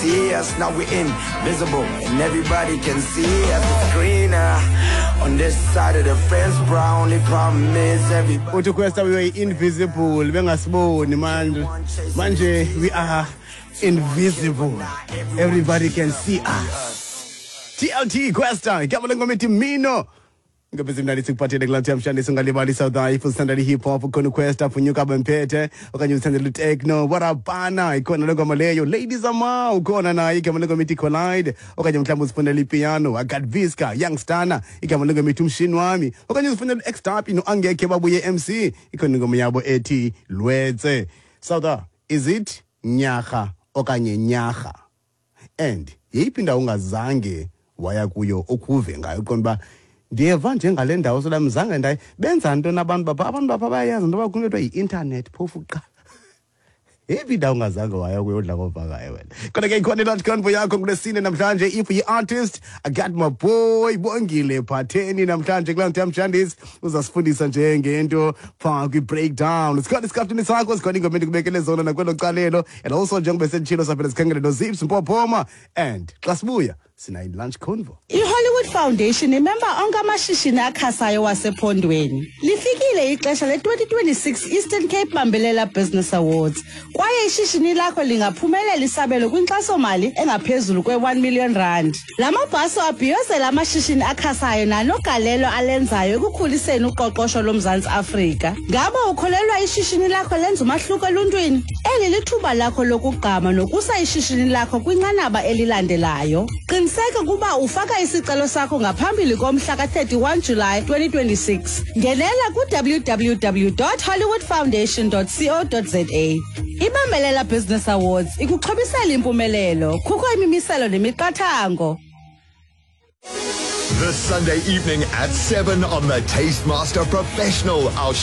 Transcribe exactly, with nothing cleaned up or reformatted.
See us now we're invisible and everybody can see us. It's greener on this side of the fence, bro. Only problem is everybody. Uthi Kwesta, we were invisible, bengasiboni. Manje manje we are invisible, everybody can see us. T L T Kwesta, igama lengoma ethi Mino. Ngabe zimnandi sikuphathele kulaa nto yamhlanje. Singalibali South, if usithandela i-hip hop ukhona uQuesta Phunyuka Bemphethe, okanye usithandela utechno warabana ikhona le ngoma leyo. Ladies Ama ukhona naye, igama lengoma ithi Collide. Okanye mhlawumbi uzifunela ipiano, I got Visca Youngstana, igama lengoma ithi Umshini Wami. Okanye uzifunela u-X-Tapi no-Angekhe Babuye M C, ikhona ingoma yabo ethi Lwetse. South, is it Nyarha okanye Nyarha? And yeyiphi indawo ungazange waya kuyo okuve ngayo, uqonda uba ndiyeva njengale ndawo solam zange ndaye? Benza ntoni abantu bapha? Abantu bapha bayayazi into yoba kukho into yi-intanethi phofu kuqala. Yeyiphi indawo ungazange waya kuyo odla ngovakayo wena? Kodwa ke ikhona i-lunch convo yakho ngulesine namhlanje. If uyi-artist, I got my boy Bongile Phatheni namhlanje kulaa nto yamjandisi, uzasifundisa nje ngento phaa kwi-breakdown. Sikhona isikhaftini sakho, sikhona ingoma endikubekele zona nakwelo calelo. And also njengoba senditshilo, saphela sikhangele noZips Mpophoma, and xa sibuya sinayo i-lunch convo. I-Hollywood Foundation imemba onke amashishini akhasayo wasephondweni. Lifikile ixesha le-twenty twenty-six Eastern Cape Bambelela Business Awards, kwaye ishishini lakho lingaphumelela isabelo kwinkxasomali engaphezulu kwe-one million rand. La mabhaso abhiyozela amashishini akhasayo nanogalelo alenzayo ekukhuliseni uqoqosho loMzantsi Afrika. Ngaba ukholelwa ishishini lakho lenza umahluko eluntwini? Eli lithuba lakho lokugqama nokusa ishishini lakho kwinqanaba elilandelayo. Qiniseka ukuba ufaka isicelo sakho ngaphambili komhla ka-thirty-one July twenty twenty-six. Ngenela ku-W W W dot hollywoodfoundation dot co dot za. Ibambelela Business Awards ikuxhobisela impumelelo. Kukho imimiselo nemiqathango. This Sunday evening at seven on the Taste Master Professional, our